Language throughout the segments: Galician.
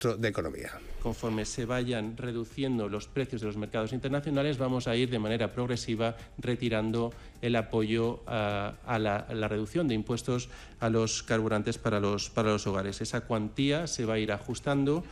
de Economía. Conforme se vayan reduciendo los precios de los mercados internacionales, vamos a ir de manera progresiva retirando el apoyo a la reducción de impuestos a los carburantes para los hogares. Esa cuantía se va a ir ajustando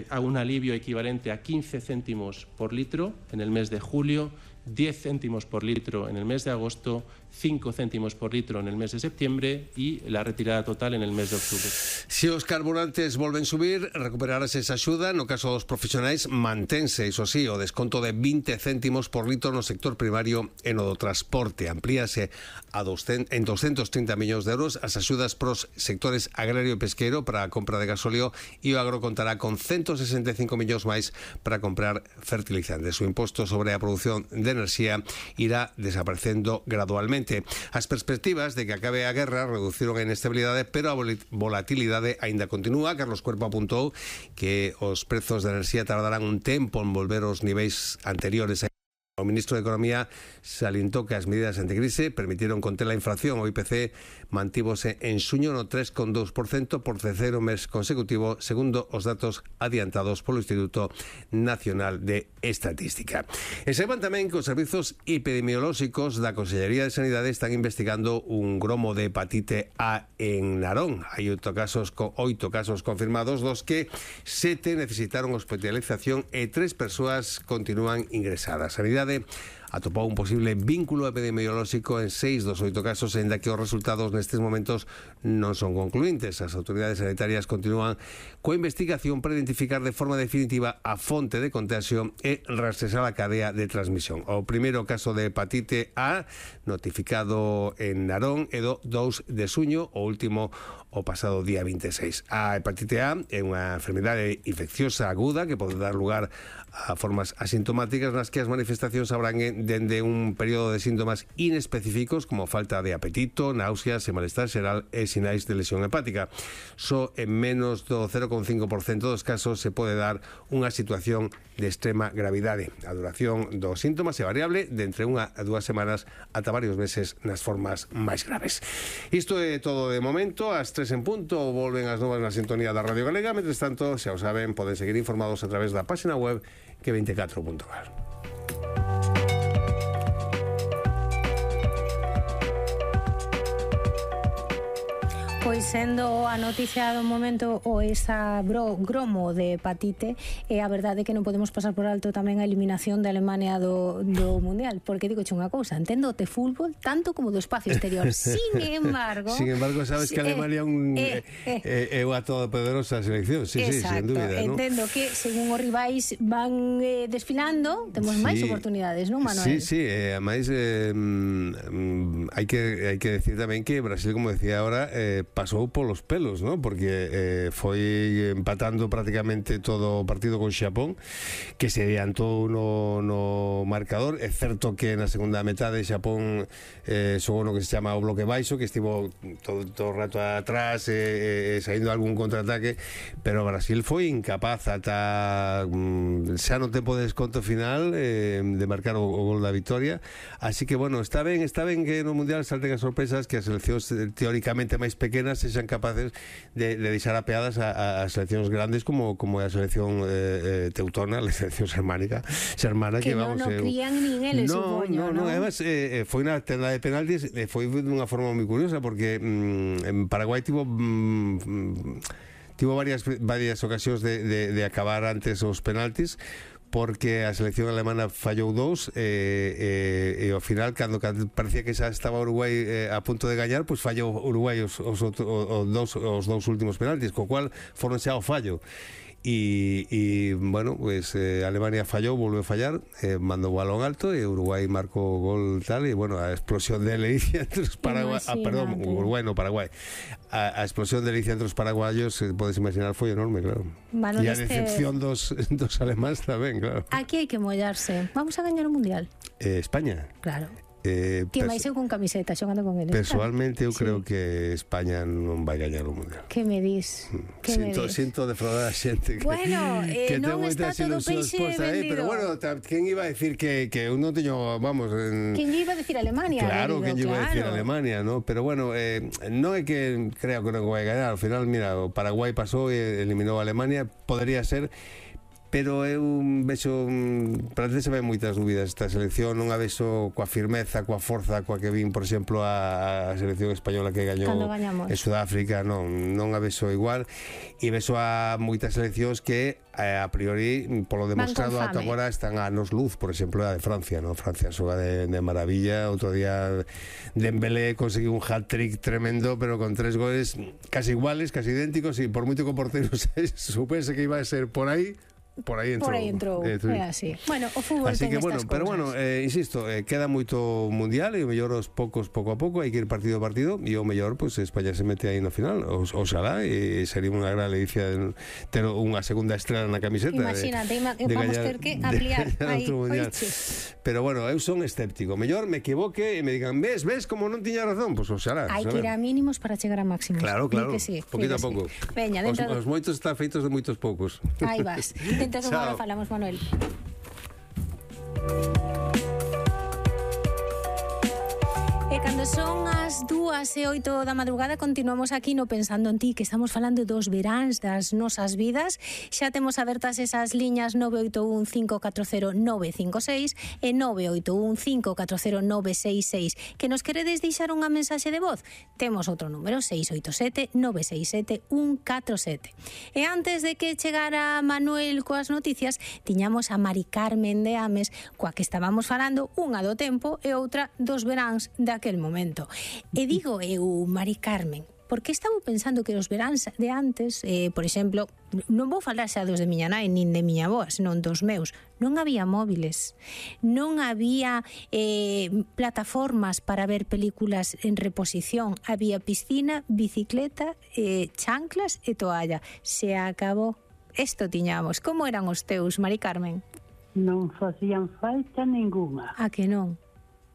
a un alivio equivalente a 15 céntimos por litro en el mes de julio, 10 céntimos por litro en el mes de agosto, 5 céntimos por litro en el mes de septiembre y la retirada total en el mes de octubre. Se os carburantes volven subir, recuperarase esa axuda. No caso dos profesionais, mantense, iso sí, o desconto de 20 céntimos por litro no sector primario e no do transporte. Amplíase en 230 millóns de euros as axudas pros sectores agrario e pesqueiro para a compra de gasóleo, e o agro contará con 165 millóns máis para comprar fertilizantes. O imposto sobre a produción de enerxía irá desaparecendo gradualmente. As perspectivas de que acabe a guerra reduciron a inestabilidade, pero a volatilidade aínda continúa. Carlos Cuerpo apuntou que os prezos de enerxía tardarán un tempo en volver aos niveis anteriores. O ministro de Economía salientou que as medidas anticrise permitiron conter a inflación. O IPC mantívose en xuño no 3,2% por terceiro mes consecutivo, segundo os datos adiantados polo Instituto Nacional de Estatística. E saiban tamén que os servizos epidemiolóxicos da Consellería de Sanidade están investigando un gromo de hepatite A en Narón. Hai 8 casos confirmados, dos que 7 necesitaron hospitalización e 3 persoas continúan ingresadas. Sanidade atopou un posible vínculo epidemiolóxico en 6 dos 8 casos, aínda que os resultados nestes momentos non son concluíntes. As autoridades sanitarias continúan coa investigación para identificar de forma definitiva a fonte de contagio e rastrear a cadea de transmisión. O primeiro caso de hepatite A notificado en Narón é do 2 de xuño, o último o pasado día 26. A hepatite A é unha enfermidade infecciosa aguda que pode dar lugar a formas asintomáticas nas que as manifestacións abranguen dende un período de síntomas inespecíficos como falta de apetito, náuseas e malestar xeral e sinais de lesión hepática. Só en menos do 0,5% dos casos se pode dar unha situación de extrema gravidade. A duración dos síntomas é variable de entre 1 a 2 semanas ata varios meses nas formas máis graves. Isto é todo de momento. Ás 3 en punto volven as novas na sintonía da Radio Galega. Mentres tanto, xa o saben, poden seguir informados a través da página web que24.gal. Pois sendo a noticia do momento o esa gromo de hepatite, é a verdade que non podemos pasar por alto tamén a eliminación de Alemania do Mundial, porque digo unha cousa, entendo de fútbol tanto como do espacio exterior. Sin embargo, sabes que Alemania é unha todopoderosa selección. Sí, exacto, sin dúbida, entendo que según os rivais van desfilando, temos máis oportunidades, non, Manuel? Sí, ademais hai que decir tamén que Brasil, como decía ahora, pasou polos pelos, ¿no? Porque foi empatando prácticamente todo o partido con Xapón, que se adiantou no marcador. É certo que na segunda metade Xapón xogou no que se chama o bloque baixo, que estivo todo o rato atrás saindo algún contraataque, pero Brasil foi incapaz ata xa no tempo de desconto final de marcar o gol da victoria. Así que, bueno, está ben que no Mundial salten as sorpresas, que as seleccións teóricamente máis pequenas sexan capaces de deixar apeadas a seleccións grandes como a selección teutona, a selección xermana que vamos, non crían nin eles, supoño, non, además foi na tenda de penaltis, foi dunha forma moi curiosa, porque en Paraguai tivo varias ocasións de acabar antes os penaltis, porque a selección alemana fallou 2 e ao final, cando parecía que xa estaba Uruguai a punto de gañar, pois fallou Uruguai os dous últimos penaltis, co cual foron xa ao fallo. E bueno, pues Alemania fallou, volveu a fallar, mandou o balón alto e Uruguai marcou o gol tal, e bueno, a explosión de delicia entre os paraguayos, Uruguai no Paraguai, a explosión de delicia entre os paraguayos, podes imaginar, foi enorme, claro. E a decepción dos alemáns tamén, claro. Aquí hai que mollarse. Vamos a gañar o Mundial. España? Claro. Ti máis eu con camiseta xogando con eles. Personalmente eu creo que España non vai gañar o Mundial. Que me dis? Sinto defraudar a xente bueno, que ten non está moitas todo ilusións peixe postas aí, vendido. pero bueno, quen iba a decir que eu non teño, vamos... Quen iba a decir Alemania? Claro, querido, que iba a decir Alemania, ¿no? Pero bueno, non é que creo que non vai gañar. Al final, mira, o Paraguai pasou e eliminou a Alemania, podría ser... Pero eu vexo, parece que se ven moitas dúbidas esta selección, non a vexo coa firmeza, coa forza, coa que vin, por exemplo, a selección española que gañou en Sudáfrica, non a vexo igual, e vexo a moitas seleccións que a priori, polo demostrado ata agora, están a anos luz, por exemplo, a de Francia, non? Francia xoga de maravilla, outro día Dembélé conseguiu un hat-trick tremendo, pero con 3 goles casi iguales, casi idénticos, e por moito que o portero supese que iba a ser por aí entrou. É así. Bueno, o fútbol así ten que estas pero cousas. bueno, insisto, queda moito mundial e o mellor aos poucos, pouco a pouco, hai que ir partido a partido e o mellor, pues, España se mete aí no final, oxalá, e sería unha gran ledicia ter unha segunda estrela na camiseta. Imagínate, vamos ter que ampliar aí. Pero bueno, eu son escéptico. Mellor me equivoque e me digan, ves como non tiña razón, pues oxalá. Hai que ir a mínimos para chegar a máximos. Claro, sí, poquito a pouco. Veña, os moitos están feitos de moitos poucos. Aí vas. Dentro de agora falamos, Manuel. E cando son as 2:08 da madrugada continuamos aquí no Pensando en Ti, que estamos falando dos veráns das nosas vidas. Xa temos abertas esas liñas 981 540 956 e 981 540 966. Que nos queredes deixar unha mensaxe de voz? Temos outro número, 687 967 147. E antes de que chegara Manuel coas noticias, tiñamos a Mari Carmen de Ames, coa que estábamos falando, unha do tempo e outra dos veráns daquel momento. E digo eu, Mari Carmen, porque estaba pensando que os veráns de antes, por exemplo, non vou falar xa dos de miña nai nin de miña avoa, senón dos meus, non había móviles, non había plataformas para ver películas en reposición, había piscina, bicicleta, chanclas e toalla. Se acabou. Isto tiñamos. Como eran os teus, Mari Carmen? Non facían falta ninguna. A que non?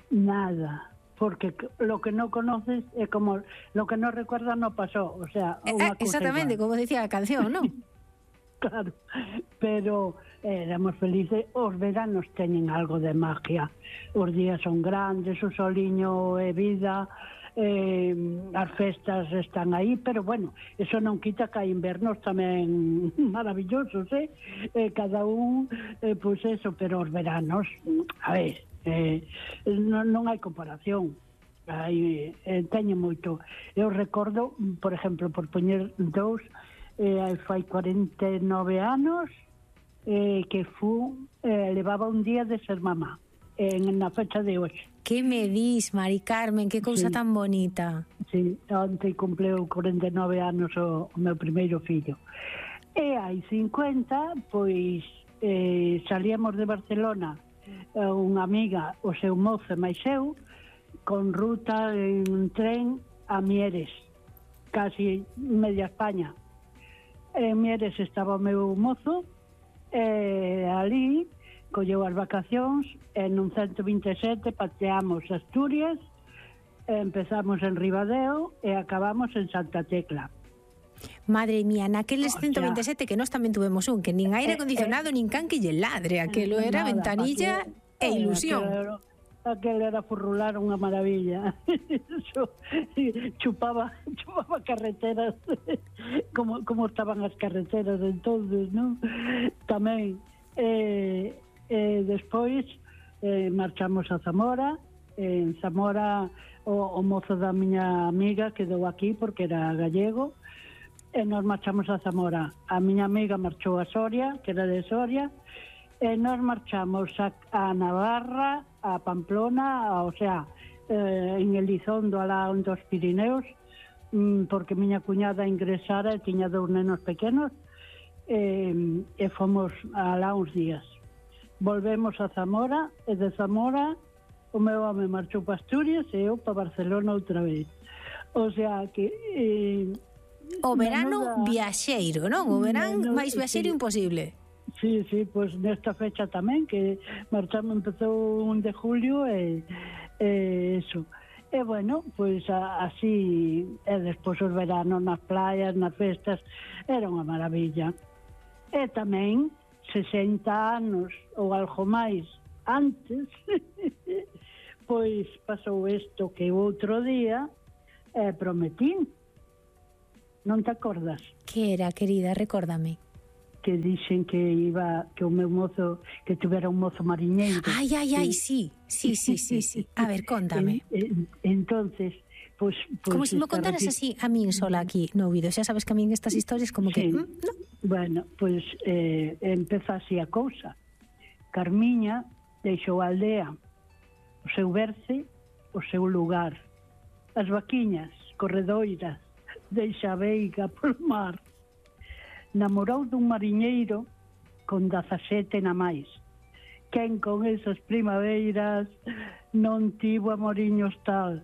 Nada. Porque lo que no conoces es como lo que no recuerdas no pasó, o sea, exactamente, como decía la canción, ¿no? Claro, pero éramos felices. Os veranos teñen algo de magia, os días son grandes, o soliño é vida, as festas están aí, pero bueno, eso non quita que hai invernos tamén maravillosos, cada un, pues eso, pero os veranos, a ver, non hai comparación. Teño moito. Eu recordo, por exemplo, por poñer dous, fai 49 anos que levaba un día de ser mamá na fecha de hoxe. Que me dis, Mari Carmen, que cousa tan bonita. Sí, onte cumpleu 49 anos o meu primeiro fillo. E hai 50, pois salíamos de Barcelona, unha amiga, o seu mozo e máis eu, con ruta en tren a Mieres, casi media España. En Mieres estaba o meu mozo, ali colleu as vacacións, en un 127 pateamos Asturias, empezamos en Ribadeo e acabamos en Santa Tecla. Madre mía, naqueles 127 que nós tamén tuvemos un, que nin aire acondicionado, nin can que lle ladre, aquelo era ventanilla e ilusión. Aquel era furrular unha maravilla. Chupaba carreteras, como estaban as carreteras entonces, ¿no? Tamén. Despois marchamos a Zamora. En Zamora o mozo da miña amiga quedou aquí porque era gallego, e nos marchamos a Zamora. A miña amiga marchou a Soria, que era de Soria, e nos marchamos a Navarra, a Pamplona, o sea, en Elizondo, alá dos Pirineos, porque miña cuñada ingresara e tiña 2 nenos pequenos, e fomos alá uns días. Volvemos a Zamora, e de Zamora o meu home marchou para Asturias e eu para Barcelona outra vez. O sea que... o verano viaxeiro, non? O verán máis viaxeiro imposible. Sí, pois nesta fecha tamén, que marchamos, empezou 1 de julio e Eso. E bueno, pois así, e despois os veranos nas playas, nas festas, era unha maravilla. E tamén 60 anos ou algo máis antes, pois pasou isto que outro día prometín. Non te acordas? Que era, querida? Recórdame. Que dixen que iba, que o meu mozo, que tuvera un mozo mariñeiro. Ai, sí. A ver, contame. Entonces, pues como se me contaras así a min sola aquí no ouvido. Xa sabes que a min estas historias como que... No. Bueno, pues empeza así a cousa. Carmiña deixou a aldea, o seu berce, o seu lugar. As vaquiñas corredoiras, deixa a veiga polo mar. Namorou dun mariñeiro con 17 na máis. Quen con esas primaveiras non tivo amoriños tal.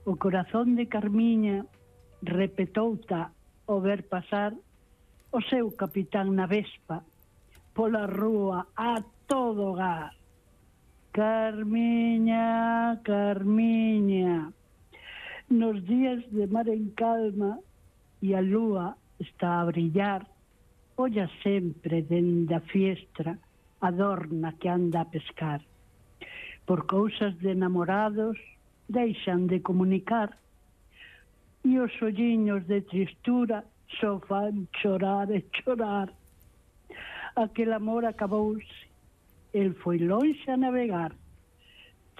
O corazón de Carmiña repetouta ao ver pasar o seu capitán na Vespa pola rúa a todo gas. Carmiña, Carmiña, nos días de mar en calma e a lúa está a brillar, olla sempre dende a fiestra a dorna que anda a pescar. Por cousas de namorados deixan de comunicar e os olliños de tristura só fan chorar e chorar. Aquel amor acabouse, el foi lonxe a navegar.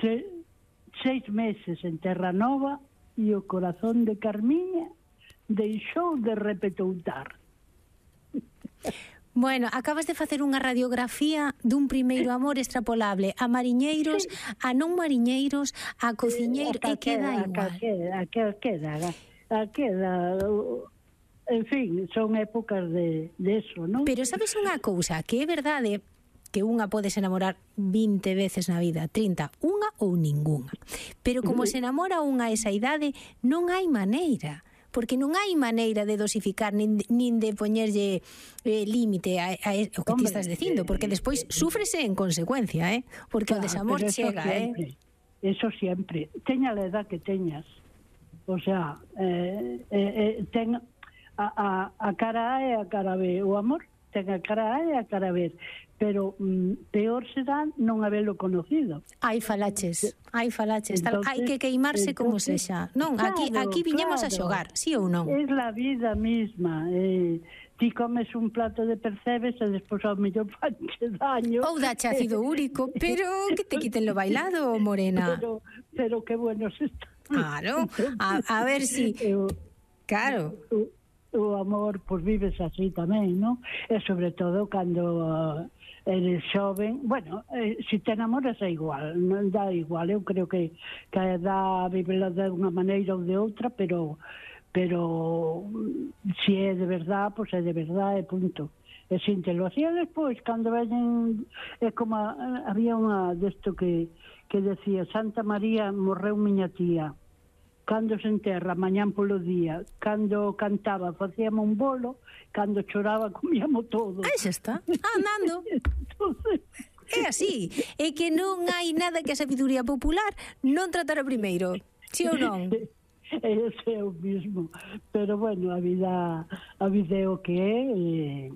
6 meses en Terra Nova e o corazón de Carmiña deixou de repetoutar. Bueno, acabas de facer unha radiografía dun primeiro amor extrapolable a mariñeiros, a non mariñeiros, a cociñeiros, e queda igual. Queda, en fin, son épocas de eso, non? Pero sabes unha cousa, que é verdade que unha pode se enamorar 20 veces na vida, 30, unha ou ningunha. Pero como se enamora unha a esa idade, non hai maneira. Porque non hai maneira de dosificar nin de poñerlle límite a o que ti estás dicindo, porque despois súfrese en consecuencia, porque o desamor chega, Eso sempre. Teña a edad que teñas. O sea, ten a cara A e a cara B. O amor ten a cara A e a cara B. Pero peor será non habelo conocido. Hai falaches. Entonces, hai que queimarse como sexa. Non, claro, aquí viñemos a xogar, sí ou non? É a vida misma. Ti comes un plato de percebes e despois ao mellor fanche daño. Ou dache ácido úrico, pero que te quiten lo bailado, morena. Pero que bueno se está. Claro, a ver si... Claro. O amor, pois vives así tamén, non? E sobre todo cando eres xoven, bueno, se te enamoras é igual, non dá igual, eu creo que dá a vivela de unha maneira ou de outra, pero se é de verdad, pois é de verdad, e punto. E síntelo así, e despois, cando veñen, é como había unha desto que decía, Santa María morreu miña tía, cando se enterra, mañán polo día, cando cantaba, facíamos un bolo, cando choraba, comíamos todo. Aí xa está, andando. Entonces, é así, é que non hai nada que a sabiduría popular non tratara primeiro, si ou non? Ese é o mismo, pero bueno, a vida é o que é,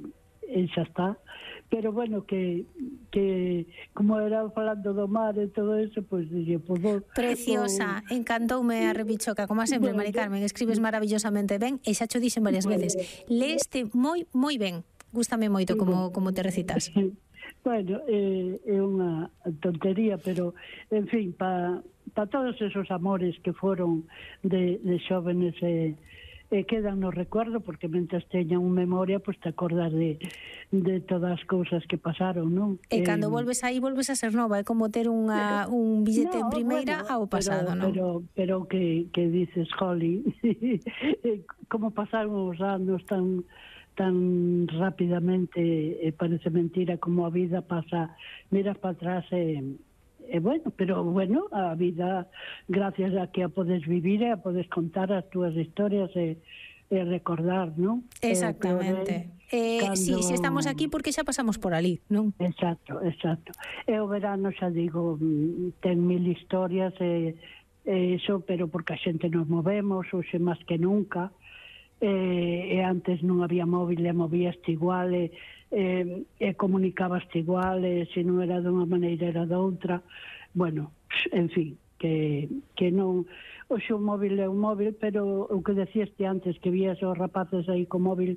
e xa está. Pero bueno, que como era falando do mar e todo eso, pois dixo, preciosa, encantoume a rebichoca, como sempre, Mari Carmen, escribes maravillosamente ben, e xa cho dixen varias veces, leeste moi ben, gústame moito como te recitas. Bueno, é unha tontería, pero en fin, para todos esos amores que foron de xóvenes quedan no recuerdo, porque mentres teña un memoria, pois te acordas de todas as cousas que pasaron, non? E cando volves aí, volves a ser nova, é como ter un billete en primeira ao pasado, non? Pero que dices, Holly, como pasaron os anos tan rapidamente, parece mentira como a vida pasa, miras para atrás bueno, pero bueno, a vida, gracias a que a podes vivir e a podes contar as túas historias e recordar, non? Exactamente. Si estamos aquí porque xa pasamos por ali, non? Exacto. E o verano, xa digo, ten mil historias eso, pero porque a xente nos movemos, hoxe máis que nunca, e antes non había móvil e movíaste igual e comunicabaste igual, e se non era dunha maneira era doutra. Bueno, en fin, que non... Hoxe o móvil é un móvil, pero o que decíaste antes, que vías os rapaces aí co móvil